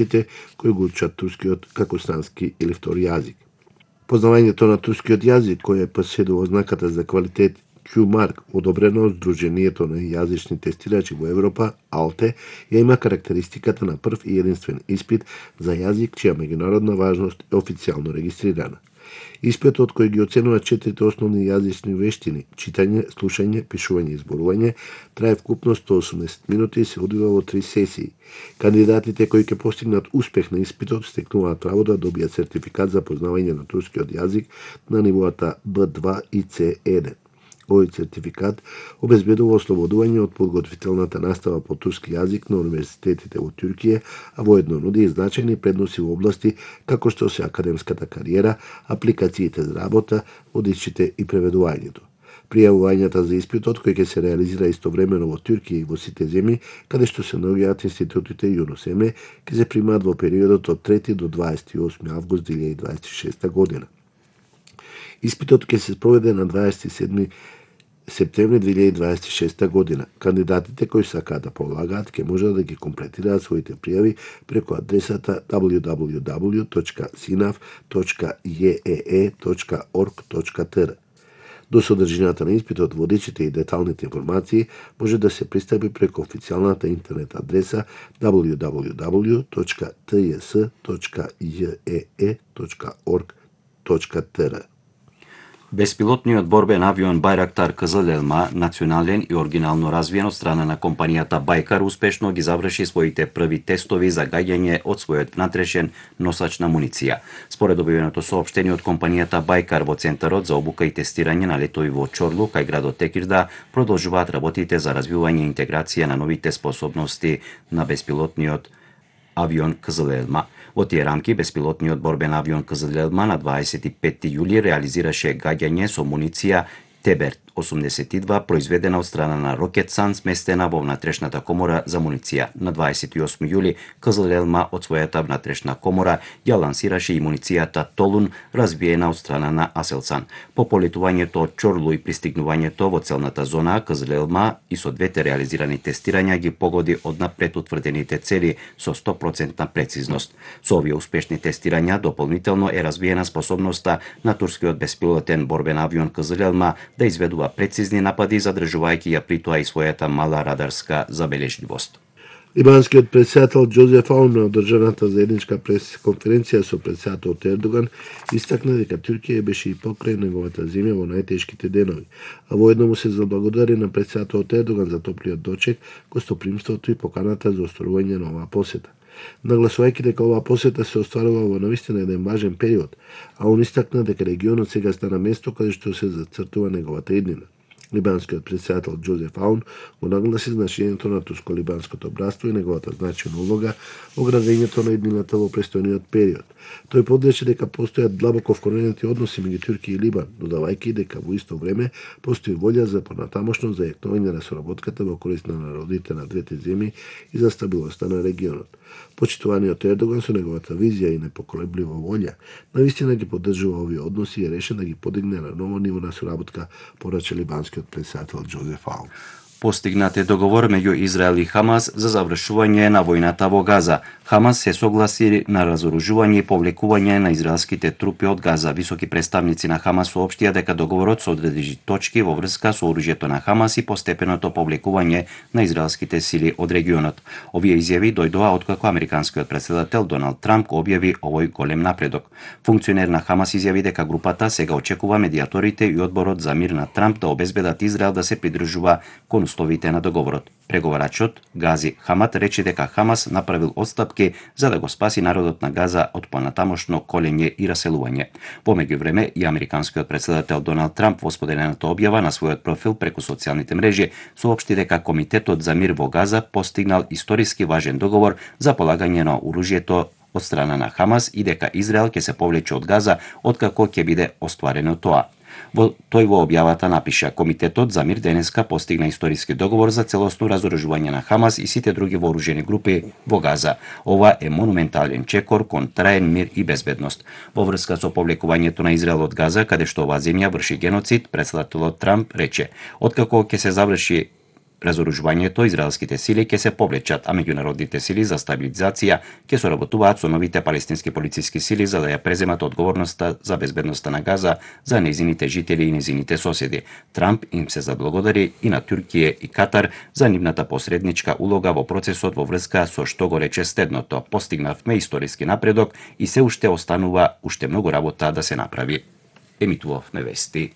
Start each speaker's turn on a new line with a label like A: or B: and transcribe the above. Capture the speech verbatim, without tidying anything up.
A: учениците кои го учат турскиот како странски или втори јазик. Познавањето на турскиот јазик, кој е поседува знаката за квалитет Q-марк, одобрено од Сдруженијето на јазични тестирачи во Европа, АЛТЕ, ја има карактеристиката на прв и единствен испит за јазик чија меѓународна важност е официјално регистрирана. Испитот кој ги оценува четирите основни јазични вештини, читање, слушање, пишување и зборување, трае вкупно сто и осумдесет минути и се одвива во три сесии. Кандидатите кои ќе постигнат успех на испитот стекнуваат право да добијат сертификат за познавање на турскиот јазик на нивоата Б два и С еден. Овој сертификат обезбедува ослободување од подготвителната настава по турски јазик на универзитетите во Туркија, а воедно нуди и значајни предноси во области како што се академската кариера, апликациите за работа, водичите и преведувањето. Пријавувањата за испитот, кој ќе се реализира истовремено во Туркија и во сите земји, каде што се наоѓаат институтите ЮНОСЕМЕ, ќе се примаат во периодот од трети до дваесет и осми август две илјади дваесет и шеста година. Испитот ќе се спроведе на дваесет и седми септември две илјади дваесет и шеста година. Кандидатите кои сакаат да полагаат ќе можат да ги комплетираат своите пријави преку адресата дабљу дабљу дабљу точка синаф точка је е е точка орг точка т р. До содржината на испитот, водичите и деталните информации може да се пристапи преку официјалната интернет адреса дабљу дабљу дабљу точка т ј с точка је е е точка орг точка т р.
B: Беспилотниот борбен авион Байрактар Кызыл-Елма, национален и оригинално развиен од страна на компанијата Байкар, успешно ги заврши своите први тестови за гаѓање од својот внатрешен носач на муниција. Според објавеното соопштение од компанијата Байкар во Центарот за обука и тестирање на летови во Чорлу, кај градот Текирда, продолжуваат работите за развивање и интеграција на новите способности на беспилотниот авион Кызыл-Елма. Во тие рамки, беспилотниот борбен авион Кызыл-Елма на дваесет и петти јули реализираше гаѓање со муниција Тебер осумдесет и два, произведена од страна на Рокетсан, сместена во внатрешната комора за муниција. На дваесет и осми јули, Кызыл-Елма од својата внатрешна комора ја лансираше и муницијата Толун, развиена од страна на Аселсан. По полетувањето од Чорлу и пристигнувањето во целната зона, Кызыл-Елма и со двете реализирани тестирања ги погоди однапред утврдените цели со сто проценти прецизност. Со овие успешни тестирања дополнително е развиена способноста на турскиот беспилотен борбен авион Кызыл-Елма да изведува прецизни напади, задржувајќи ја при тоа и својата мала радарска забележливост.
A: Либанскиот претседател Џозеф Аун на одржаната заедничка прес-конференција со претседателот Ердоган истакна дека Туркија беше и покрај неговата земја во најтешките денови, а воедно му се заблагодари на претседателот Ердоган за топлиот дочек, гостопримството и поканата за остварување на оваа посета. Нагласувајќи дека оваа посета се остварува во навистина еден важен период, а он истакна дека регионот сега стана место каде што се зацртува неговата иднина. Либанскиот претседател Џозеф Аун го нагласи значењето на турско-либанското братство и неговата значајна улога во градењето на иднината во престојниот период. Тој подрече дека постојат длабоко вкоренети односи меѓу Туркија и Либан, додавајќи дека во исто време постои волја за понатамошно зајакнување на соработката во корист на народите на двете земји и за стабилноста на регионот. Почитуваниот Ердоган со неговата визија и непоколеблива волја навистина ги поддржува овие односи и е решен да ги подигне на ново ниво на соработка, порача либанскиот претседател Џозеф Аун.
B: Постигнат е договор меѓу Израел и Хамас за завршување на војната во Газа. Хамас се согласи на разоружување и повлекување на израелските трупи од Газа. Високи представници на Хамас соопштија дека договорот содржи точки во врска со оружјето на Хамас и постепеното повлекување на израелските сили од регионот. Овие изјави дојдоа откако американскиот претседател Доналд Трамп го објави овој голем напредок. Функционер на Хамас изјави дека групата сега очекува медиаторите и одборот за мир на Трамп да обезбедат Израел да се придржува кон условите на договорот. Преговарачот Гази Хамат рече дека Хамас направил отстапки за да го спаси народот на Газа од понатамошно колење и раселување. Во меѓувреме и американскиот претседател Доналд Трамп во споделената објава на својот профил преку социјалните мрежи соопшти дека Комитетот за мир во Газа постигнал историски важен договор за полагање на оружјето од страна на Хамас и дека Израел ќе се повлече од Газа откако ќе биде остварено тоа. Во тој во објавата напиша: Комитетот за мир денеска постигна историски договор за целосно разоружување на Хамас и сите други вооружени групи во Газа. Ова е монументален чекор кон траен мир и безбедност. Во врска со повлекувањето на Израел од Газа, каде што оваа земја врши геноцид, претседателот Трамп рече: откако ќе се заврши разоружувањето, израелските сили ќе се повлечат, а меѓународните сили за стабилизација ќе соработуваат со новите палестински полициски сили за да ја преземат одговорноста за безбедноста на Газа за нејзините жители и нејзините соседи. Трамп им се заблагодари и на Туркија и Катар за нивната посредничка улога во процесот во врска со што го рече следното: постигнавме историски напредок и се уште останува уште многу работа да се направи. Емитувавме вести.